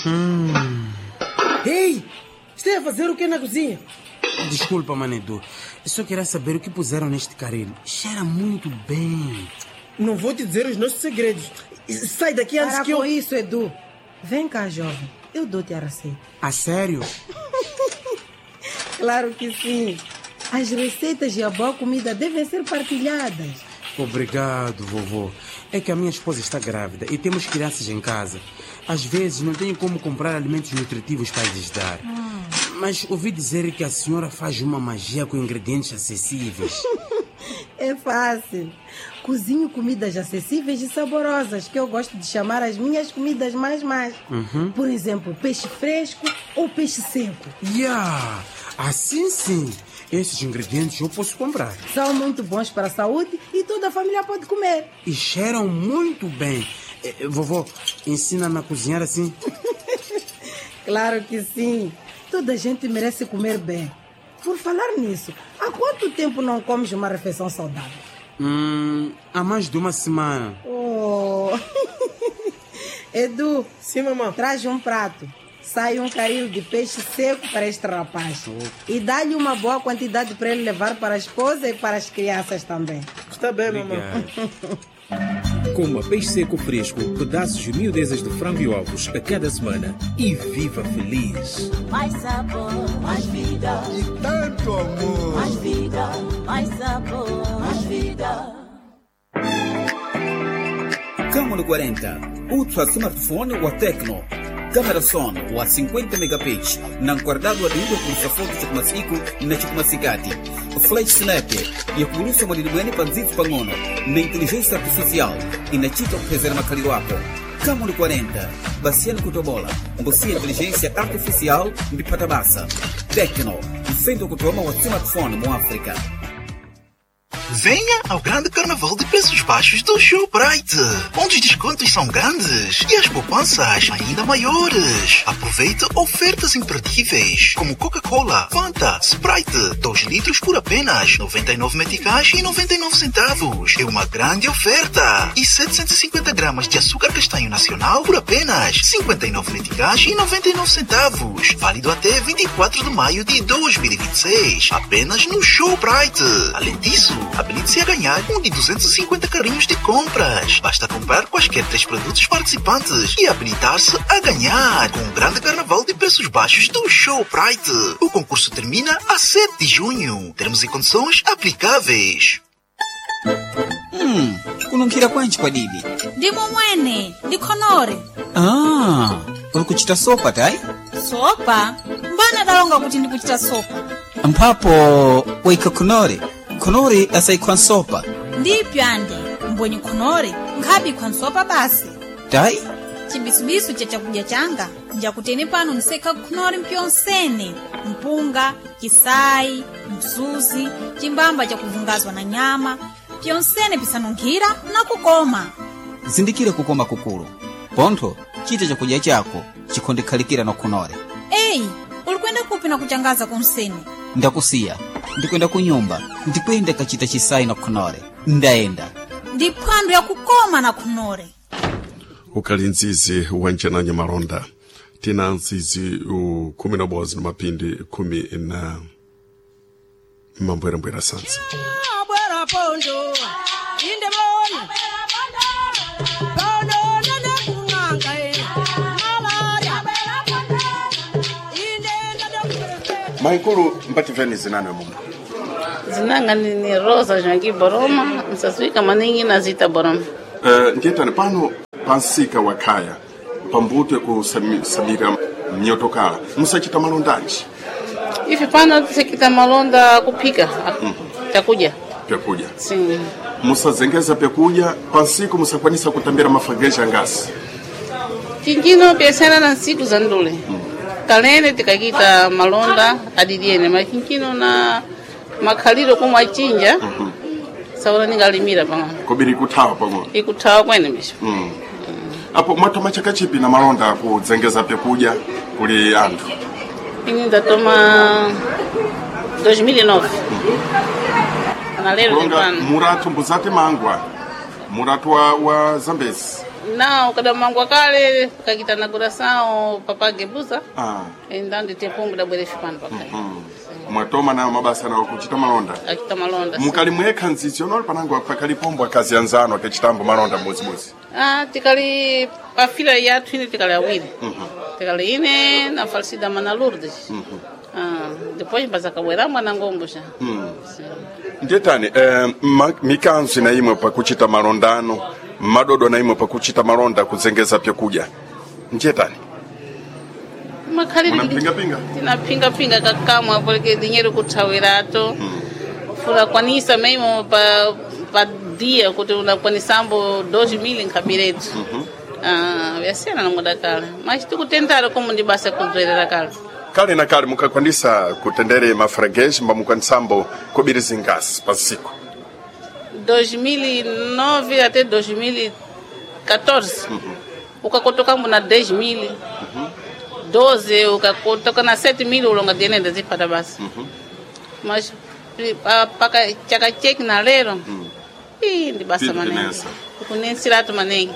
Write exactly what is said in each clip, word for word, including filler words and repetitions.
Hum. Ei, está a fazer o que na cozinha? Desculpa, Manedu. Só queria saber o que puseram neste caril. Cheira muito bem. Não vou te dizer os nossos segredos. Sai daqui antes Para que eu. com isso, Edu. Vem cá, jovem. Eu dou-te a receita. A sério? Claro que sim. As receitas e a boa comida devem ser partilhadas. Obrigado, vovô. É que a minha esposa está grávida e temos crianças em casa. Às vezes não tenho como comprar alimentos nutritivos para lhes dar. Mas ouvi dizer que a senhora faz uma magia com ingredientes acessíveis. É fácil. Cozinho comidas acessíveis e saborosas, que eu gosto de chamar as minhas comidas mais mais. Por exemplo, peixe fresco ou peixe seco. Yeah! Assim sim! Esses ingredientes eu posso comprar. São muito bons para a saúde e toda a família pode comer. E cheiram muito bem. Eh, eh, Vovó, ensina-me a cozinhar assim? Claro que sim. Toda a gente merece comer bem. Por falar nisso, há quanto tempo não comes uma refeição saudável? Hum, há mais de uma semana. Oh. Edu, Sim, mamãe. traz um prato. Sai um caril de peixe seco para este rapaz. E dá-lhe uma boa quantidade para ele levar para a esposa e para as crianças também. Está bem, mamãe. Obrigado. Coma peixe seco fresco, pedaços e miudezas de frango e ovos a cada semana e viva feliz. Mais sabor, mais vida. E tanto amor. Mais vida, mais sabor, mais vida. Camon quarenta, ultra smartphone wa Tecno. Câmera son wa cinquenta megapixels, na guardado adido com foto chukumasiku na chukumasikati. Flash snap, yakulusa mwadidimweni panzitsu pang'ono na inteligência artificial inachita kuphezera makhaliro ako. Camon quarenta, basiani kutobola, mbusiya inteligência artificial mbipata basa. Tecno, mfendo kutoma wa smartphone mu África. Venha ao grande carnaval de preços baixos do Shoprite, onde os descontos são grandes e as poupanças ainda maiores. Aproveite ofertas imperdíveis, como Coca-Cola, Fanta, Sprite, dois litros por apenas noventa e nove meticais e noventa e nove centavos. É uma grande oferta. E setecentos e cinquenta gramas de açúcar castanho nacional por apenas cinquenta e nove meticais e noventa e nove centavos. Válido até vinte e quatro de maio de dois mil e vinte e seis. Apenas no Shoprite. Além disso, habilite-se a ganhar um de duzentos e cinquenta carrinhos de compras. Basta comprar quaisquer três produtos participantes e habilitar-se a ganhar com o grande carnaval de preços baixos do Shoprite. O concurso termina a sete de junho. Termos e condições aplicáveis. Hum, kununkhira kwanji kwadidi? Ndimo mwene, ndikhonore. Ah, uli kuchita sopa tayi? Sopa? Mbana dalonga kuti ndikuchita sopa? Mphapo waikha khonore. Khonore asayikhwa nsopa. Ndipyo ande mbwenye khonore nkhabi nsopa basi. Tayi? Chibisubisu cha chakudya changa njakutene pano nisekha khonore mpyonsene, mpunga, chisayi, msuzi, chimbamba chakuvungazwa na nyama, pyonsene pisanunkhira na kukoma. Zindikire kukoma kukulu. Pontho chita chakudya chako chikhondekhalikira na khonore. Eyi, uli kwenda kupi na kuchangaza konsene? Ndakusiya, ndikwenda kunyumba, ndikwenda kachita chisayi na khonore. Ndayenda. Ndi phwando yakukoma na khonore. Ukali nzizi wanjananya malonda, tina nzizi u kumi na bozi na mapindi kumi na mambwerambwera sansa. Bwera pondo inde bona pondo nene kung'anga e malaria inde nene. Maikulu, mbativeni zinanwe mumu? Zinanga ni ni Rosa Joaquim Boroma, nsaswika maningi na Zita Boroma. Uh, ndiyetani pano pansika wakhaya pambutwe kusamira mnyotokala, musachita malondanji? Ife pano tisekita malonda kuphika chakudya. Pyakudya? Sim. Musazengeza pyakudya pansiku, musakwanisa kutambira mafageja ngasi? Chinjino biashara na nsiku za ndule. Kalene tikakita malonda adidiene, ma chinjino na makhaliro komwe achinja saula ningalimira pang'ono. Kobiri kuthawa pang'ono. Ikuthawa kwene misho. mm. apo mwatoma chakachipi na malonda kudzengeza pyakudya kuli anthu? Ini ndatoma dois mil e nove. Na lero Kulonga ndipano. muratu mbuzati mangwa muratu wa, wa Zambezi. Não, kada mangwa kale kakita inauguração papá gebuza. Ah. Então ndite pombo da bwere fipano pakai. Mwatoma nayo mabasa nawo kuchita malonda. Akita malonda. sim. Mukali mwekha nzizi onoli panango pakali pombo akazi anzano akachitambo malonda mbuzibuzi. Ah, tikali pa fila yathu ine tikali awiri. Tikali ine na falecida mana Lourdes. Ah, depois mbazakabwera mwana ngombo já. Sim. Ndetani eh, ma, mikanzo na imwe pakuchita malondano madodo na imwe pakuchita malonda kuzengeza pyakudya ndetani Makhaliri Munapingapinga? tinapingapinga kakamwa porque dinheiro kuthawirato fulakwanisa mesmo pa pa dia kuti unakwanisambo dois mil nkhabiretu ah, vyasiyana na muda kale mas tikutentara como ndi basa kubzwerera kale kale na kale mukakwanisa kutendere mafreguês mbamukwanisambo kubiri zingasi pa siku dois mil e nove até dois mil e catorze ukakotokambo na dez mil doze ukakotoka na sete mil ulonga dienenda zipata basi mas pri- pa- paka chaka cheki na lero ii ndi basa Pili manengi kunensa. kunensiratu manengi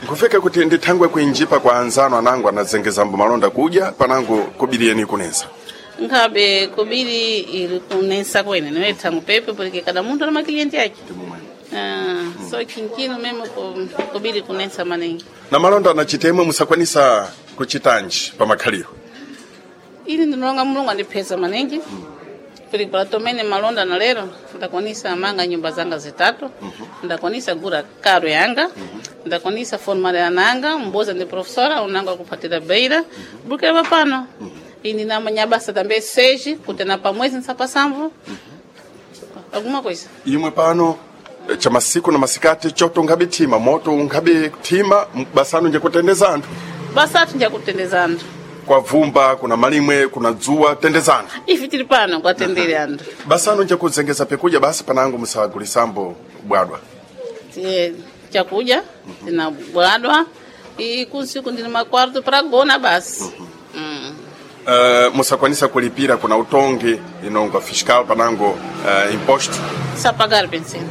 nkufika kuti ndithangwe kuinjipa kwa anzano anango anazengezambo malonda kudya panango kubiriyeni kunensa nkhabe kubiri ili kunensa kwene niwe thangu pepe porque cada munthu ana makilienti ake Ah, so chinchino memo ku- kubiri kunensa manengi na malonda anachitemwe musakwanisa kuchitanji pa makhaliro ili ndinolonga mulungu andipheza maningi porque para tomene malonda na lero ndakwanisa manga nyumba zanga zitatu ndakwanisa gura karo yanga ndakwanisa formar ananga mboza ndi professora unanga kupatira beira bukira papano ini namanya basa também seis kuti na pamwezi nsapasambo alguma coisa imwe pano eh, cha masiku na masikati choto ungabe thima moto ungabe thima basano nje kutendeza anthu basatu njakutendeza anthu kwa vumba kuna malimwe kuna dzuwa tendeza anthu ife tili pano kwatendere anthu basano nje kuzengeza pekudya basi panango musagulisambo bwadwa Tie- chakudya tinabwadwa e kunsiku ndini makwarto para gona basi Mm. Uh, musakwanisa kulipira kuna utongi inongo fiscal panango uh, imposto sapagar pensei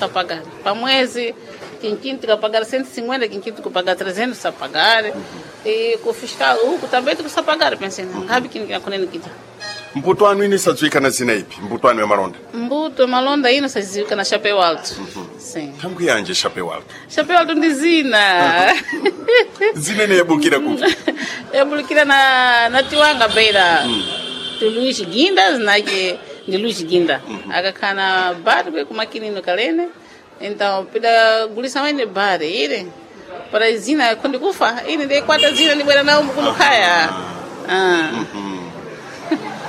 sapagar pa mwezi quinquinho tikapagar cento e cinquenta quinquinho tikupagar trezentos sapagar e com fiscal uku também tikusapagar pensei ngabe kini kinakunene kita mbuto anu ini sadziwika na zina ipi mbuto anu ya malonda mbuto malonda ino saziwika na chapéu alto sim thangu yanje chapéu alto chapéu alto ndi zina zina ine yabukira kuti yabulikira na na tiwanga beira ti Luís Guinda zinake ndi Luís Guinda akakhala na bar kwe kumakinino kalene então pida gulisa wene bar ile para zina kundi kufa ine ndeikwata zina ndibwera nawo mukulukhaya ah.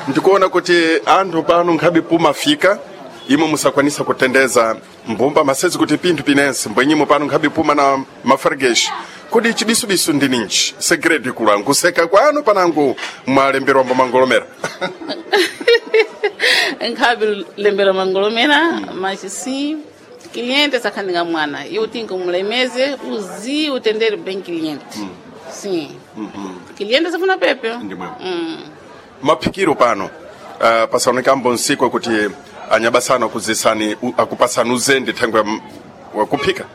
ndikuona kuti anthu pano nkhabe pumafika imwe musakwanisa kutendeza mbumba masezi kuti pinthu pinense mbwenyimo pano nkhabe puma na mafargeshi kodi chibisubisu ndi ninji segredo ikulu nkuseka kwanu panango mwalemberwambo mangolomera nkhabe lembera mangolomera mas sim cliente sakhandinga mwana iwe tinga umulemeze uzi utendere bem cliente sim cliente safuna pepe Ndimwe. mm. maphikiro pano uh, pasaonekambo nsiku kuti anyabasano akuzisani u- akupasani uzende thangwe ya m- wakuphika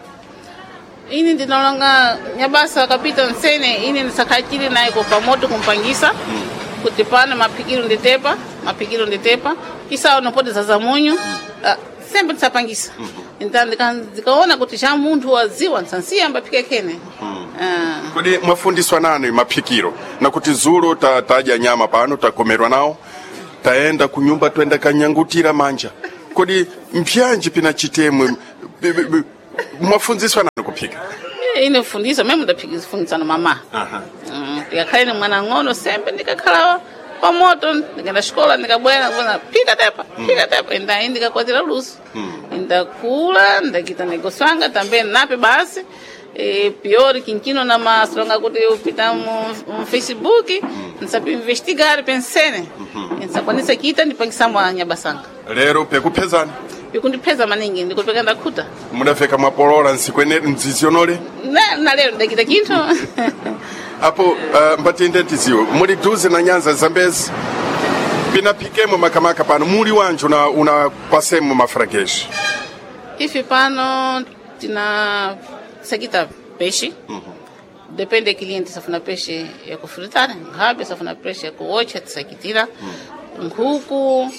ini ndinolonga nyabasa akapita nsene ine ndisakhachili naye pamoto kumpangisa kuti pano maphikiro nditepa maphikiro nditepa isawo nopoti zaza munyu Ah, sempre ndisapangisa então ndika- ndikaona kuti cha munthu waziwa nsansiya ambaphike khene Ah. kodi mwafundiswa nani maphikiro nakuti zulo ta, tadya nyama pano takomerwa nawo taenda kunyumba twenda kanyangutira manja kodi mpyanji pina chitemwe b- b- b- mwafunziswa nani kuphika Eh, ine fundiswa meme ndafundiswa na mama Mm, ndikakhale ni mwana ng'ono sembe ndikakhala pamoto ndikaenda xikola ndikabwera kuona phika tepa phika tepa inda ndikakwatira luso ndakula ndakita negócio anga também nape basi e pior quinquino na masolonga kuti upita mu, mu Facebook nsapi investigar pensene nsakwanisa kita ndipangisa nyabasanga lero pekuphezani pikundipheza maningi ndikupeka ndakhuta mudafeka mwapolola nsiku ene mdzizi yonole na, na lero ndakita chinthu apo uh, mbatinde tiziwe muli duze na nyanza zambezi pinaphikemo makamaka pano muli wanji una, una pasemo mafrageshi ife pano Tina sakita peixe. Depende do cliente, se for peixe é com fritar, rabe, se for peixe é com ocha, sakitira. Nkuku,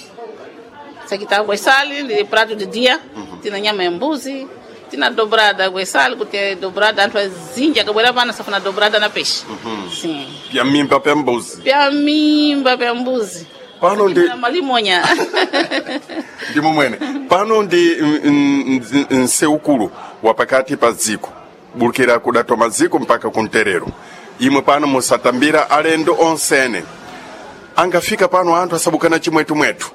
sakita água e sal, de prato de dia. Tina nyama ya mbuzi, tina dobrada água e sal, que tem dobrada, antes zinja, que bora pana, se for dobrada na peixe. Sim. Pya mimba pya mbuzi. Pya mimba pya mbuzi. Pano ndi Tina malimonha. ndimo mwene pano ndi nseukulu wa pakati pa dziko bulukira kudatoma dziko mpaka kunterero imwe pano musatambira alendo onsene angafika pano anthu asabukana chimwetumwetu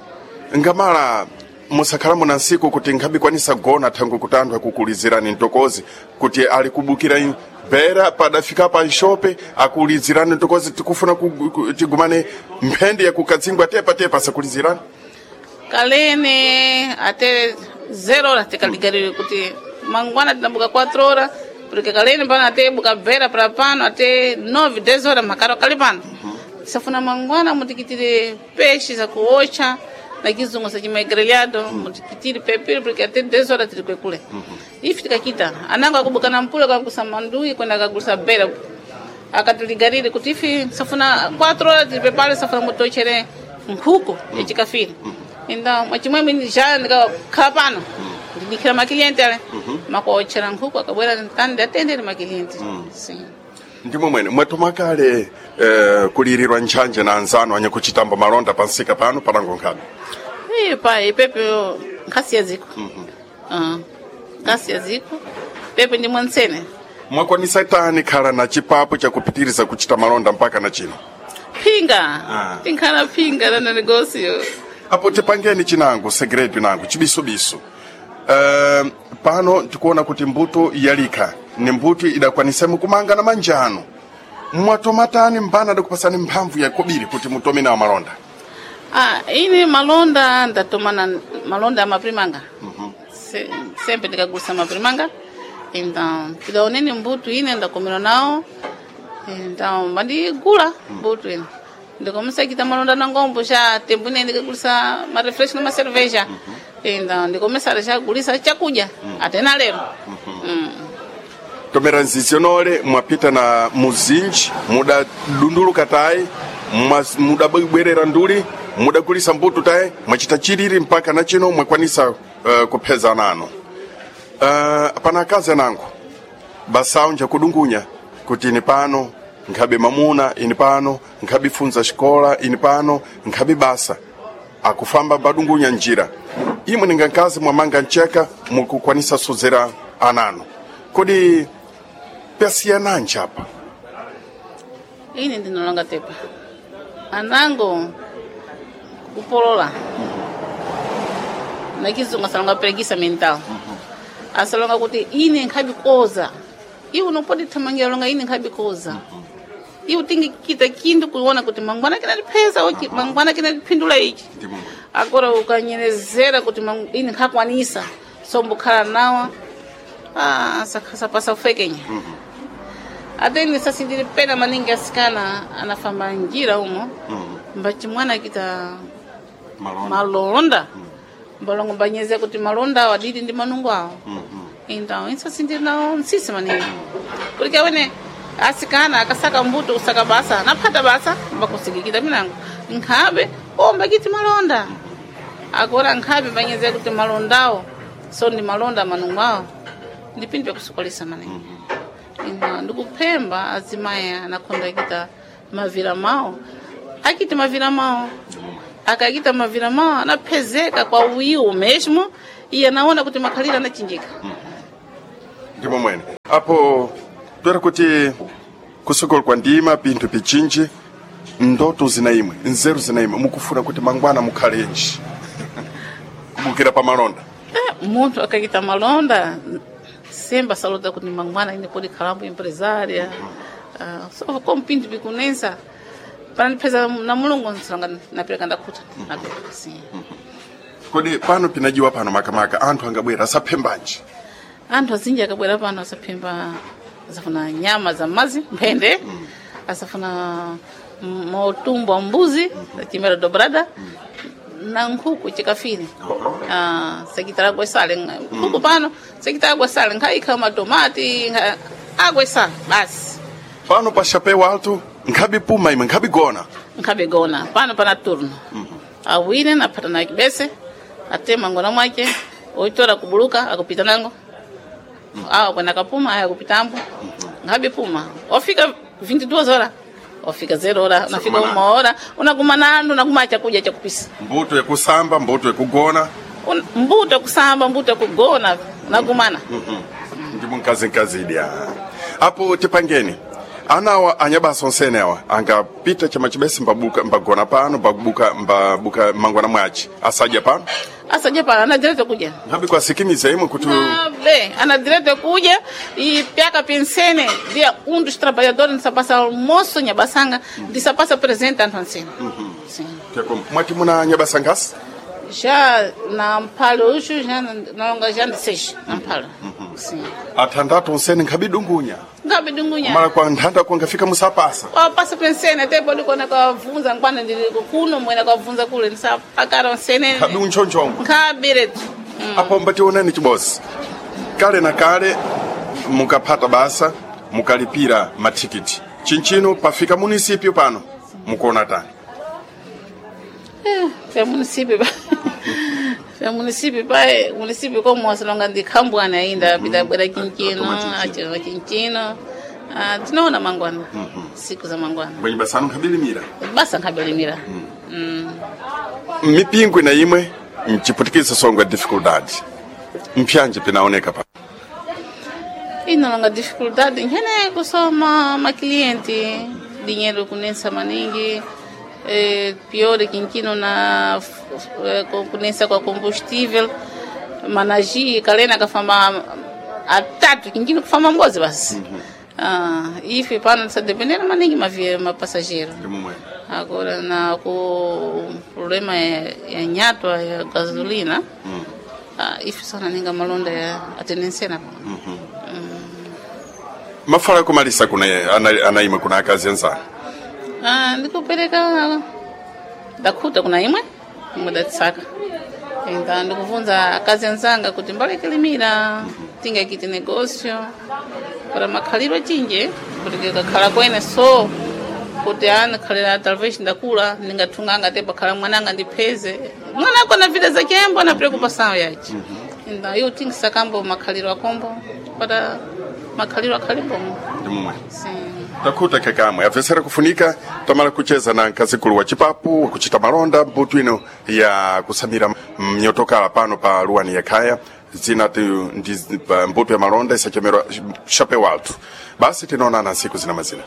ngamala musakhalamo na nsiku kuti nkhabikwanisa gona thangu kuti anthu akukulizirani mtokozi kuti ali kubukira in- bera padafika pa nshope akulizirani mtokozi tikufuna ku- ku- tigumane mphende yakukadzingwa tepa tepa asakulizirani Kalene até zero horas tikaligarire kuti mangwana tinambuka quatro horas porque kalene pano até buka bera para pano até nove dez horas makaro kali pano safuna mangwana mutikitire peixe za kuocha na kizungu sachima grelhado mutikitire pepiri porque até dez horas tiri kwekule ifi tikakita anango akubuka na mpula kakusa mandui kwenda kagusa bera akatiligarire kuti ifi safuna quatro horas tiri pepale safuna mutochere nkhuku yachikafiri então mwachimwemwe já ndikakhala pano ndidikira makiliente ale makuochera nkhuku akabwera ntandi atendere makiliente sim ndimo mwene mwatoma kale eh, kulirirwa ntchanje na anzanu anyakuchitamba malonda pansika pano palango nkhabe Ih, pai, pepe nkhasi ya ziko Ah, nkhasi ya ziko pepe ndi mwansene mwakwanisa tani khala na chipapo chakupitiriza kuchita malonda mpaka na chino phinga Ah. tinkhala phinga na negócio apo tipangeni chinango segredo nango chibisubisu uh, pano tikuona kuti mbuto yalikha ni mbuto idakwanisemu kumanga na manjano mwatomatani mbana adakupasani mphamvu yakobiri kuti mutome nawo malonda Ah, ine malonda ndatomana malonda amaprimanga Se, sempre ndikagusa maprimanga então tidaoneni mbutu ine ndakomera nawo então bandigula mbutu ine ndikomesa malonda na ngombo xa tembo ine ndikagulisa marefresh na macerveja então ndikomesa xagulisa chakudya até na lero Mm. tomera nzizionole mwapita na muzinji mudadunduluka tayi mwa- mudabwerera nduli mudagulisa mbuto tayi mwachita chilili mpaka na chino mwakwanisa uh, kupheza nano uh, pana akazi anango basawu njakudungunya kuti ini pano nkhabe mamuna ini pano nkhabe funza xikola ini pano nkhabe basa akufamba badungunya njira imwe ninga nkazi mwamanga ncheka mukukwanisa sozera anano kodi pyasiyananji apa ine ndinolonga tepa anango kupolola na kizungu asalonga preguiça mental asalonga kuti ine nkhabikoza iwe unopodi thamangira longa ine nkhabikoza iwe tingikita kindu kuona kuti mangwana kinatipheza uchi mangwana kinatiphindula ichi agora ukanyerezera kuti mangu- ine nkhakwanisa sombukhala nawa ah, sapasa ufekenya ate ine sasindiri pena maningi asikana anafamba njira umo mbachimwana akita malonda mbalongo mbanyezea kuti malonda awo adili ndi manungo awo então isso sindiri nawo nsisi maningi porque awene asikana akasaka mbuto kusaka basa anaphata basa mbakusikikita minango nkhabe ombakiti malonda agora nkhabe mbanyezea kuti malondawo so ndi malonda manungo awo ndipindi pyakusokolesa maningi ina ndikuphemba azimayi anakhonda akita mavira mawo akiti mavira mawo akakita mavira mawo anaphezeka kwa uyiwo mesmo iye anaona kuti makhalira anachinjika ndimo mwene apo toera kuti kusokolo kwa ndima pinthu pichinji ndoto zina imwe nzeru zina imwe mukufuna kuti mangwana mukhalenji kubukira pa malonda Eh, munthu akakita malonda semba saluta kuti mangwana ine podi khalambo empresária Ah, so como pinto bikunensa para ndipheza na mulungu nsilonga napereka ndakhuta napereka sim kodi pano pinajiwa pano makamaka anthu angabwera asaphembanji anthu azinji akabwera pano asaphemba asafuna nyama za mazi mphende asafuna motumbo wa mbuzi chimera dobrada na nkhuku chikafire ah sekitala gwesale nkhuku pano sekitala gwesale nkhaikha matomati nkha- agwesale basi pano pa chapéu alto nkhabe puma imwe nkhabe gona nkhabegona pano pana turno awine naphata na kibese atema ngona mwake oitora kubuluka akupita nango awa kwenda kapuma aya kupitambo nkhabe puma ofika vinte e duas horas ofika zero hora unafika uma hora unaguma nando unaguma chakudya chakupisa mbuto yekusamba mbuto yekugona Un- mbuto kusamba mbuto kugona unagumana ndimo nkazinkazidya apo tipangeni anawa anyabasa onsene awa angapita chama chibese mbabuka mbagona pano mbabuka mbabuka mangwana mwachi asadya pano asadya pano ana direito kudya nkhabe kwasikimiza imwe kuti Bem, ana direito kudya e piaka pensene dia um dos trabalhadores ndisapasa almoço nyabasanga ndisapasa presente anthu ansene Sim. Tekom, mwati muna nyabasa ngasi Já na mpalo uxu já nalonga já ndi seis na mpalo Sim. athandatu onsene nkhabe dungunya Ngabe dungunya mala kwa nthanda kwangafika musapasa wapasa pensene até pode quando kavunza nkwana ndili kuno mwena kavunza kule ndisapakara onsene nkhabe unchonchongo nkhabiretu apo mbationani chibosi kale na kale mukaphata basa mukalipira mathikiti chinchino pafika munisipyo pano mukuona tani Pya município pya município pai município como wasilonga ndi khambwana ainda pita bwera chinchino achira chinchino Ah, tinaona mangwana siku za mangwana bwenye basanu nkabilimira basa nkabilimira Mm. mipingwi na imwe mchiputikisa songo ya dificuldade mpyanje pinaoneka pa inalonga dificuldade nkhene kusoma maklienti dinheiro kunensa maningi eh, pior quinquino na f- f- eh, ku- kunensa kwa combustível manaji kalena kafamba atatu quinquino kufamba mbozi basi ah, ife pano tisadependera maningi mavie mapassageiro agora na ku problema ya, ya nyatwa ya gasolina ah, ife sana ninga malonda ya atenensena pa mafala yakumalisa kuna ana- anaimwe kuna akazi anzanu Ah, ndikupereka ndakhuta kuna imwe imwe datsaka então ndikuvunza akazi anzanga kuti mbalekelimira tingakite negócio para makhaliro achinje kuti kakhala kwene so kuti ani khalira talvez ndakula ndingathunganga te pakhala mwananga ndipheze mwana ako na vida zake na preocupação yace então eu tingisakambo makhaliro akombo para makhaliro akhale bomo ndi mumwe sim takhuta kakamwe apesera kufunika tamala kucheza na nkazikulu wa chipapu wakuchita malonda mbuto ino ya kusamira mnyotokala pano pa luwani yakhaya zina ti ndi pa mbuto ya malonda isachemerwa chapeu alto basi tinaonana nsiku zina mazina.